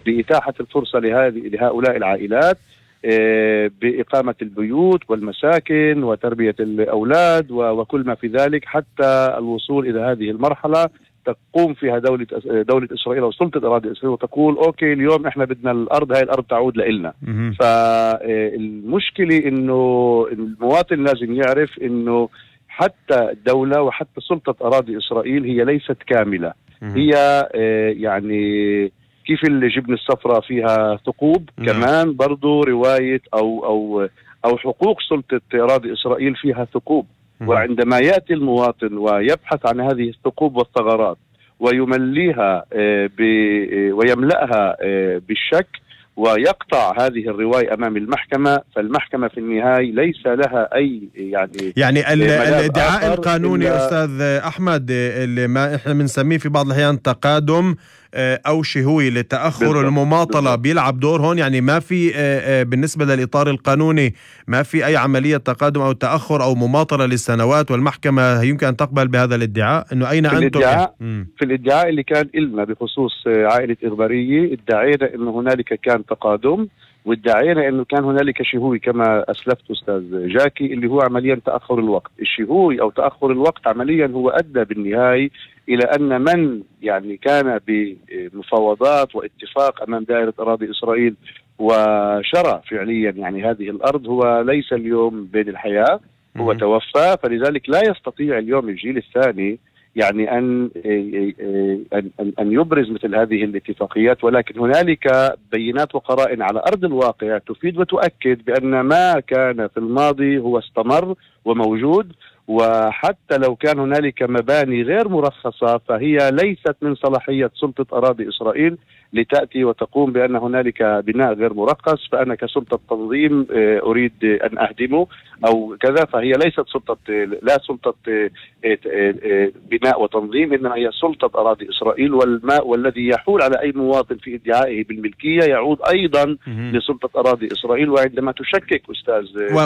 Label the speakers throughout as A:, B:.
A: بإتاحة الفرصة لهؤلاء العائلات بإقامة البيوت والمساكن وتربية الأولاد وكل ما في ذلك، حتى الوصول إلى هذه المرحلة تقوم فيها دولة إسرائيل أو سلطة أراضي إسرائيل وتقول أوكي اليوم إحنا بدنا هاي الأرض تعود لإلنا. فالمشكلة إنه المواطن لازم يعرف إنه حتى الدولة وحتى سلطة أراضي إسرائيل هي ليست كاملة. هي يعني كيف الجبن الصفراء فيها ثقوب، كمان برضو رواية أو حقوق سلطة أراضي إسرائيل فيها ثقوب. وعندما يأتي المواطن ويبحث عن هذه الثقوب والثغرات ويمليها ويملأها بالشك ويقطع هذه الرواية أمام المحكمة، فالمحكمة في النهاية ليس لها أي
B: يعني الادعاء القانوني أستاذ أحمد اللي ما إحنا بنسميه في بعض الأحيان تقادم أو شهوي لتأخر المماطلة بيلعب دور هون. يعني ما في بالنسبة للإطار القانوني ما في أي عملية تقادم أو تأخر أو مماطلة للسنوات، والمحكمة يمكن أن تقبل بهذا الادعاء إنه أين أنتم؟
A: في الادعاء اللي كان إلنا بخصوص عائلة إغبارية ادعينا إنه هنالك كان تقادم، وادعينا انه كان هنالك شهوي كما اسلفت استاذ جاكي اللي هو عمليا تاخر الوقت. الشهوي او تاخر الوقت عمليا هو ادى بالنهايه الى ان من يعني كان بمفاوضات واتفاق امام دائره اراضي اسرائيل وشرى فعليا يعني هذه الارض هو ليس اليوم بين الحياه، هو توفى. فلذلك لا يستطيع اليوم الجيل الثاني يعني أن يبرز مثل هذه الاتفاقيات، ولكن هنالك بينات وقرائن على أرض الواقع تفيد وتؤكد بأن ما كان في الماضي هو استمر وموجود. وحتى لو كان هنالك مباني غير مرخصة فهي ليست من صلاحية سلطة أراضي إسرائيل لتأتي وتقوم بأن هنالك بناء غير مرخص فأنا كسلطة تنظيم أريد أن أهدمه أو كذا. فهي ليست لا سلطة بناء وتنظيم، إنما هي سلطة أراضي إسرائيل، والماء والذي يحول على أي مواطن في ادعائه بالملكية يعود أيضا لسلطة أراضي إسرائيل. وعندما تشكك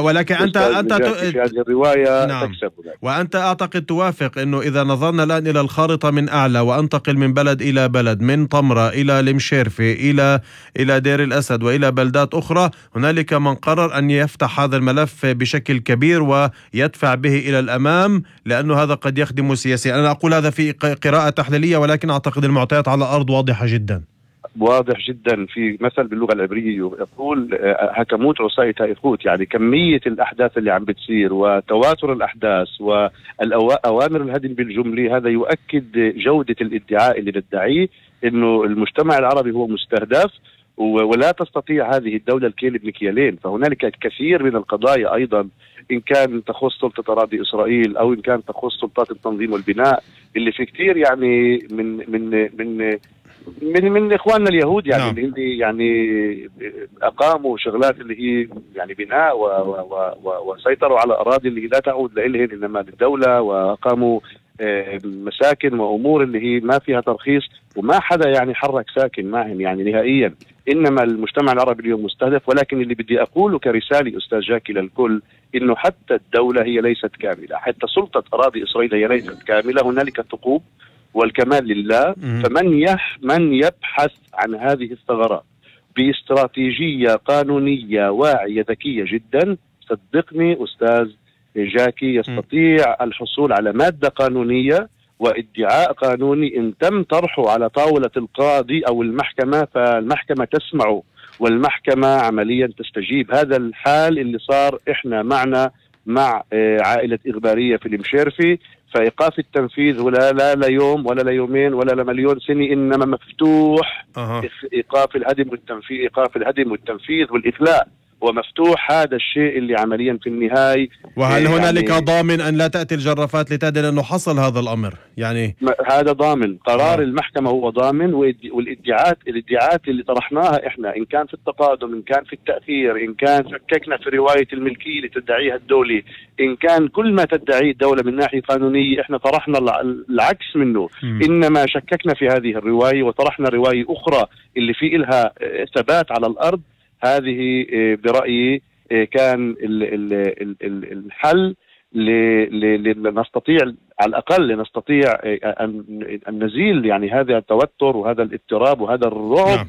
B: ولكن أنت
A: في هذه الرواية تكسب.
B: وأنت أعتقد توافق أنه إذا نظرنا الآن إلى الخارطة من أعلى وأنتقل من بلد إلى بلد، من طمرة إلى المشيرفي إلى دير الأسد وإلى بلدات أخرى، هنالك من قرر أن يفتح هذا الملف بشكل كبير ويدفع به إلى الأمام لأنه هذا قد يخدم سياسيا. أنا أقول هذا في قراءة تحليلية، ولكن أعتقد المعطيات على الأرض واضحة جدا.
A: واضح جدا. في مثل باللغة العبرية يقول هكموت عصاية إخوت، يعني كمية الأحداث اللي عم بتصير وتواتر الأحداث وأوامر الهدم بالجملة، هذا يؤكد جودة الادعاء اللي ندعيه إنه المجتمع العربي هو مستهدف ولا تستطيع هذه الدولة الكيل بمكيالين. فهنالك الكثير من القضايا أيضا إن كان تخص سلطة أراضي إسرائيل أو إن كان تخص سلطات التنظيم والبناء اللي في كثير يعني من إخواننا اليهود يعني اللي يعني أقاموا شغلات اللي هي يعني بناء وسيطروا على أراضي اللي لا تعود لإلهن إنما للدولة، وأقاموا مساكن وأمور اللي هي ما فيها ترخيص، وما حدا يعني حرك ساكن معهم يعني نهائيا. إنما المجتمع العربي اليوم مستهدف. ولكن اللي بدي أقوله كرسالة أستاذ جاكي للكل إنه حتى الدولة هي ليست كاملة، حتى سلطة أراضي إسرائيل هي ليست كاملة، هنالك ثقوب والكمال لله. فمن يبحث عن هذه الثغرات باستراتيجية قانونية واعية ذكية جدا، صدقني أستاذ جاكي يستطيع الحصول على مادة قانونية وادعاء قانوني إن تم طرحه على طاولة القاضي أو المحكمة فالمحكمة تسمعه والمحكمة عمليا تستجيب. هذا الحال اللي صار إحنا مع عائلة إغبارية في المشيرفي. فإيقاف التنفيذ لا يوم ولا ليومين ولا لمليون سنة، إنما مفتوح إيقاف الهدم والتنفيذ والإخلاء، ومفتوح هذا الشيء اللي عمليا في النهاية.
B: وهل هنالك ضامن أن لا تأتي الجرافات لتدل أنه حصل هذا الأمر؟ يعني
A: هذا ضامن، قرار المحكمة هو ضامن. والادعاءات اللي طرحناها إحنا إن كان في التقادم، إن كان في التأخير، إن كان شككنا في رواية الملكية اللي تدعيها الدولة، إن كان كل ما تدعيه الدولة من ناحية قانونية إحنا طرحنا العكس منه. إنما شككنا في هذه الرواية وطرحنا رواية أخرى اللي في إلها ثبات على الأرض. هذه برأيي كان الحل لنستطيع على الأقل لنستطيع أن نزيل يعني هذا التوتر وهذا الاضطراب وهذا الرعب